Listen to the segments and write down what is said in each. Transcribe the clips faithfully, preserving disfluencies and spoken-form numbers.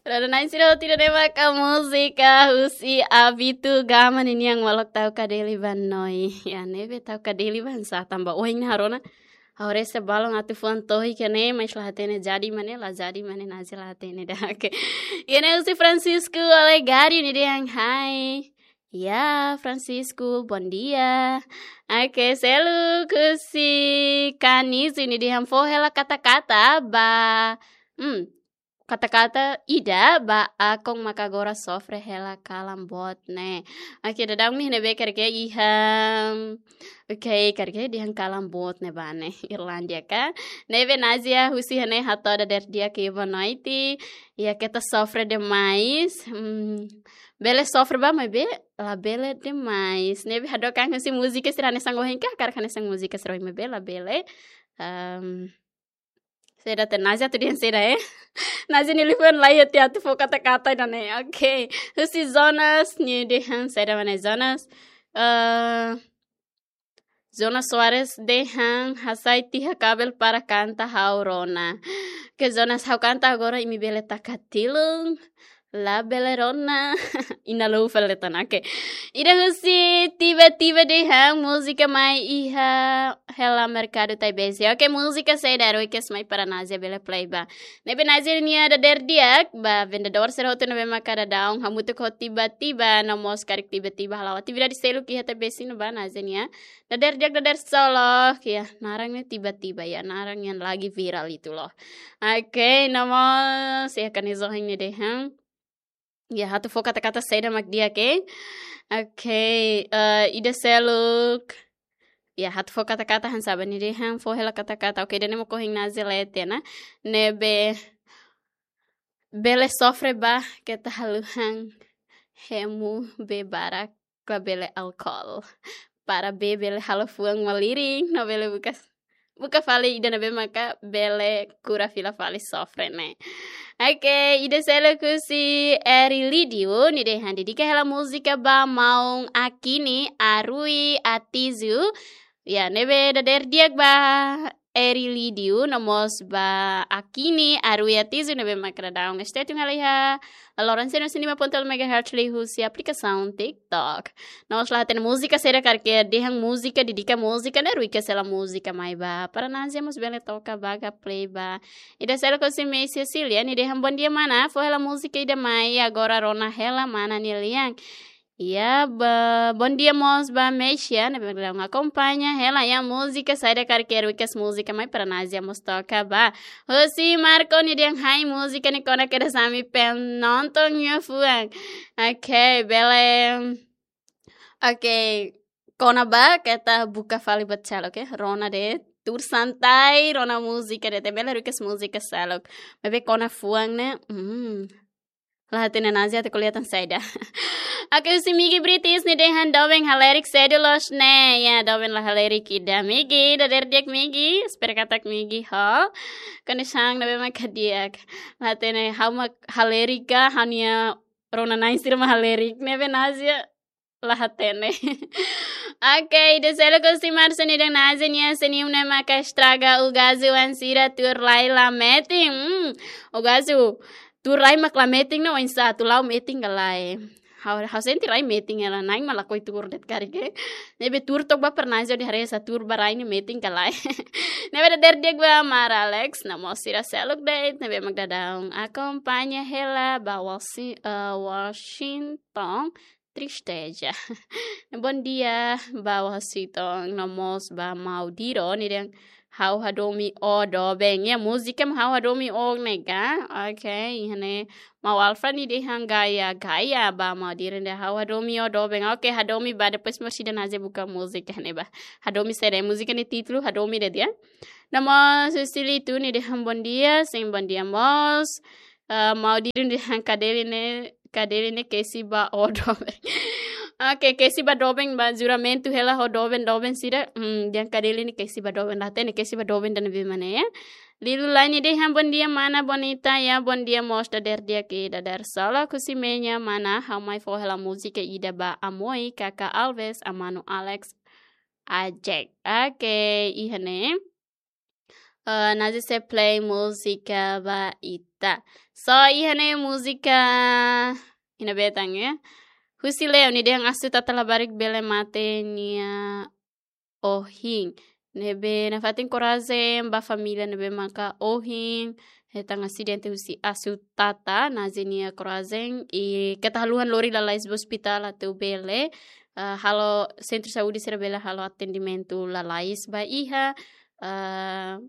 Rona-na'in sira hotu, ida-ne'e maka múzika husi Abitu Gama ninian, Molok Tau Kadeli Ba Noi. Ya, ne'ebé tau kadeli ba oinsá, tanba ohin ne'e ha'u rona, ha'u haree sá balun atu fuan tohik ne'e, mas la hatene jadi mak ne'e, la jadi mak ne'e, Nazia la hatene ida. Oke. Ida-ne'e husi Francisco Olegário, nia dehan hai. Ya, Francisco, bondia. Oke, seluk husi Canizo, nia dehan fó hela kata-kata ba, hmm, kata-kata ida ba Akon maka agora sofre hela kalan boot ne'e. Oke, daudaun imi ne'ebé karik iha, oke, karik dehan kalan boot ne'e ba ne'e, Irlandia ka? Ne'ebé Nazia husi iha ne'e hato'o dadeer di'ak, boa noite. Ya, keta sofre demais. Hmm, bele sofre ba, maibé labele demais. Ne'ebé hadook an husi múzika sira hanesan ohin ka, hakarak hanesan múzika sira ohin, maibé labele. Ehm, saida tan, Nazia atu dehan saida, eh? Nazia nia liafuan laiha tiha atu fó kata-kata ida-ne'e. Oke. Husi Jonas, nia dehan saida mak ne'e, Jonas? Eh, Jonas Soares dehan hasai tiha kabel para kanta ha'u rona. Ke Jonas, ha'u kanta agora imi bele taka tilun. Labele rona. Ina lou fali tan, oke. Ida husi Tiba-Tiba dehan múzika mai iha hela merkadu Taibesi. Oke, múzika saida request mai para Nazia bele play ba. Ne'ebé Nazia nia dadeer di'ak ba vendedór sira hotu ne'ebé maka daudaun hamutuk ho Tiba-Tiba, no mós karik Tiba-Tiba hala'o atividade seluk iha Taibesi ne'ebá, Nazia nia dadeer di'ak, dadeer solok. Ya, naran ne'e Tiba-Tiba, ya, naran yang lagi viral itu loh. Oke, no mós, ya, Canizo nia dehan. Ya, atu fó kata-kata saida mak di'ak, oke? Oke, eh, ida seluk. Ya, atu fó kata-kata hanesan sá ba, nia dehan fó hela kata-kata. Oke, ida-ne'e mak ohin Nazia lee tiha ona. Ne'ebé bele sofre ba, keta haluha hemu bee barak, ka bele álkol. Para bee bele halo fuan malirin, no bele buka, buka fali ida ne'ebé maka bele kura fila fali sofre ne'e. Oke, ida seluk husi Eri Lídio, nia dehan dedika hela múzika ba maun Akini, Arui, Atizu. Ya, ne'ebé dadeer di'ak ba Eri Lídio, no mós ba Akini, Arui, Atizu ne'ebé maka daudaun stay tune hela iha lorong seno sini ma ponto megahertz liuhusi aplikasaun TikTok. No mós la hatene múzika saida karik dehan, múzika, dedika múzika ne'e, request hela múzika mai ba para Nazia mós bele toka ba ka play ba. Ida seluk husi Messi Cecilia, nia dehan bondia mana, fó hela múzika ida mai, agora rona hela mana nia lian. Ya, ba, bondia mós ba Messi, ne'ebé daudaun akompaña hela, ya, múzika saida karik request múzika mai para Nazia mós toka ba. Husi Marco, nia dehan hai, múzika ne'e kona kedas ami penonton nia fuan. Oke, bele. Oke, kona ba, keta buka fali buat seluk, oke? Rona de'it, tuur santai, rona múzika de'it, bele request múzika seluk. Maibé kona fuan ne'e, hmm. La hatene Nazia atu ko'alia tan saida. Oke, husi Migi British, nia dehan doben halerik sedu loos ne'e. Ya, doben la halerik ida, Migi, dadeer di'ak Migi, espera katak Migi ho kondisaun ne'ebé maka di'ak. La hatene ha'u mak halerik ka, ha'u-nia rona-na'in sira mak halerik. Ne'ebé Nazia la hatene. Oke, ida seluk husi Marcia, nia dehan Nazia nia senium ne'e maka estraga Ugazu oan sira tuur lai la metin. Hmm, Ugazu, tuur lai mak la metin ne'e oinsá, atu la'o metin ka lae? Ha'u, ha'u sente rai metin hela, na'in mak lakohi tuur de'it karik. Ne'ebé tuur to'ok ba para Nazia hodi haree sá tuur ba rai ne'e metin ka lae. Ne'ebé dadeer di'ak ba Mara Alex, no mós sira seluk de'it ne'ebé mak daudaun akompaña hela ba Wasi-, eh, Washington. Tristeza. Bondia ba Washington, no mós ba Maudiro, nia dehan ha'u hadomi ó doben. Ya, múzika mak ha'u hadomi ó ne'e ka. Oke, iha ne'e Mau Alfa nia dehan gaya, gaya ba Maudiro, nia dehan ha'u hadomi ó doben. Oke, hadomi ba, depois mós ida Nazia buka múzika ne'e ba. Hadomi saida, múzika nia títulu hadomi de'it ya. No mós Susili tu nia dehan bondia, sim, bondia mós. Ah, Maudiro nia dehan kadeli ne'e, kadeli ne'e kesi ba ó doben. Oke, kesi ba doben ba, juramentu hela ho doben, doben sira. Hmm, dehan kadeli ne'e kesi ba doben, la hatene kesi ba doben ida ne'ebé mak ne'e ya. Lilu Lai nia dehan bondia mana bonita, ya bondia mós, dadeer di'ak, dadeer solok husi Meña mana, ha'u mai fó hela múzika ida ba Amoi, Kaka Alves, Amanu Alex, Ajek. Oke, iha ne'e. Ah, Nazi sei play múzika ba ita. So, iha ne'e múzika ida-ne'ebé tan, ya. Husi Leo, nia dehan Asu Tata Labarik bele mate nia ohin. Ne'ebé nafatin korajen ba família ne'ebé maka ohin hetan asidente husi Asu Tata, Nazi nia korajen, i keta haluha lori lalais ba ospitál atu bele, ah, halo sentru saúde sira bele halo atendimentu lalais ba iha, ah,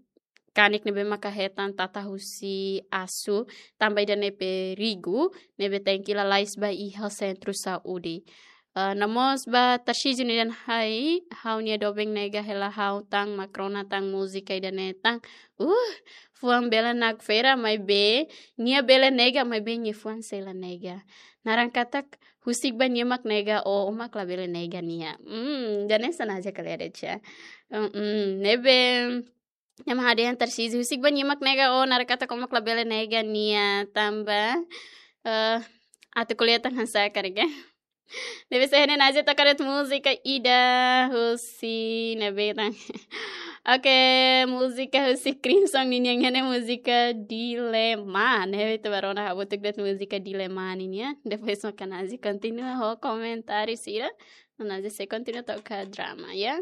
kanek ne'ebé maka hetan tata husi Asu, tanba ida-ne'e perigu, ne'ebé tenke lalais ba iha sentru saúde. Ah, no mós ba Tarcísio, nia dehan: Hai, ha'u-nia doben nega hela ha'u tan, mak rona tan múzika ida-ne'e tan. Uh, fuan bele nakfera, maibé nia bele nega, maibé nia fuan sei la nega. Naran katak husik ba nia mak nega ó, ó mak labele nega nia. Hmm, ida-ne'e hanesan Nazi ko'alia de'it. Hmm, ne'ebé nia mak dehan Tarcísio, husik ba nia mak nega ó, naran katak ó mak labele nega nia, tanba, eh, atu ko'alia tan hanesan karik, ya. Ne'ebé se hene Nazi toka de'it múzika ida husi ne'ebé tan. Oke, múzika husi Crimson ninian, ne'e múzika Dilema. Ne'ebé ita bá rona hamutuk de'it múzika Dilema ninian. Depois maka Nazi kontinua ho komentáriu sira. Nazi sei kontinua toka drama, ya.